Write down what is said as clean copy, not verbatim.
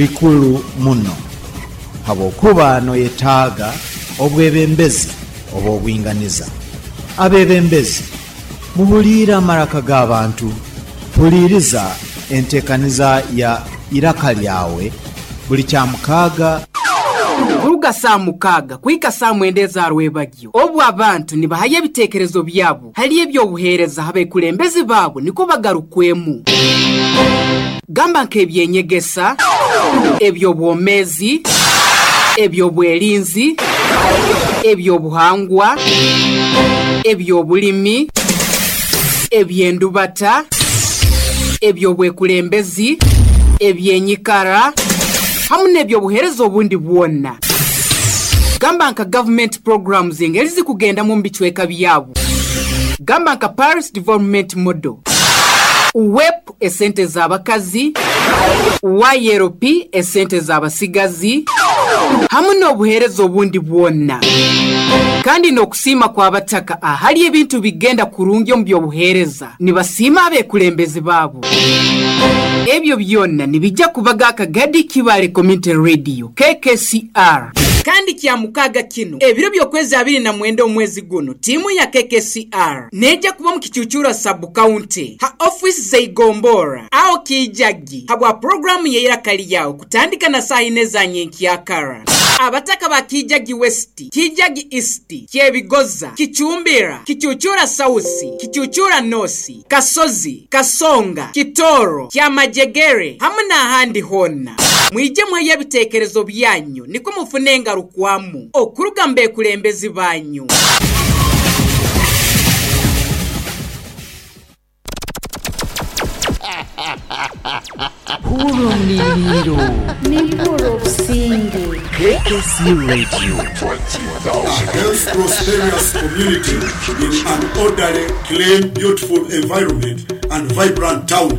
Bikuru muno habwokuba noyetaaga obwebembezi obw'obwinganiza. Abebembezi, muhuliire amaraka g'abantu. Huliiriza entekaniza ya Iraka Lyawe buli Kyamukaaga. Kuruga saaha mukaaga kuhika saaha mwenda eza rwebagyo, obu abantu nibahayo ebiteekerezo byabo hali eby'obuheereza ha bekulembezi baabo nikwo bagarukwemu. Gamba nk'eby'enyegesa, eby'obwomeezi, eby'obwerinzi, eby'obuhangwa, eby'obulimi, eby'endubata, eby'obwekulembezi, eby'enyikara hamu n'eby'obuheereza obundi bwona. Gamba nka gavumenti programs engeri zikugendamu omu bicweka byabo. Gamba nka Parish Development Model, UWEP esente z'abakazi, YLP esente z'abasigazi hamu n'obuheereza obundi bwona. Kandi n'okusiima kw'abataka ahali ebintu bigenda kurungi omu by'obuheereza nibasiima abekulembezi baabo. Ebyo byona nibija kubaga Akagadi Kibaale Community Radio, KKCR. Kandi Kyamukaaga kinu, ebiro by'okwezi 29 omwezi gunu, tiimu ya KKCR neija kuba omu Kicucuura Sub-County ha ofiisi z'eigomborra aho Kiijagi habwa puroguraamu y'eiraka lyawe kutandika na saaha ina eza nyenkyakara. Abataka ba Kiijagi West, Kiijagi East, Kyebigoza, Kicumbira, Kicucuura South, Kicucuura North, Kasozi, Kasonga, Kitooro, Kyamajegere hamu n'ahandi hoona. Mwije muheyo ebiteekerezo byanyu nikwo mufune engarukwamu okuruga mu bekulembezi banyu. Hurra omuliiriiro. Nimpurra obusinge. KKC Radio. A health prosperous community in an orderly, clean, beautiful environment and vibrant town.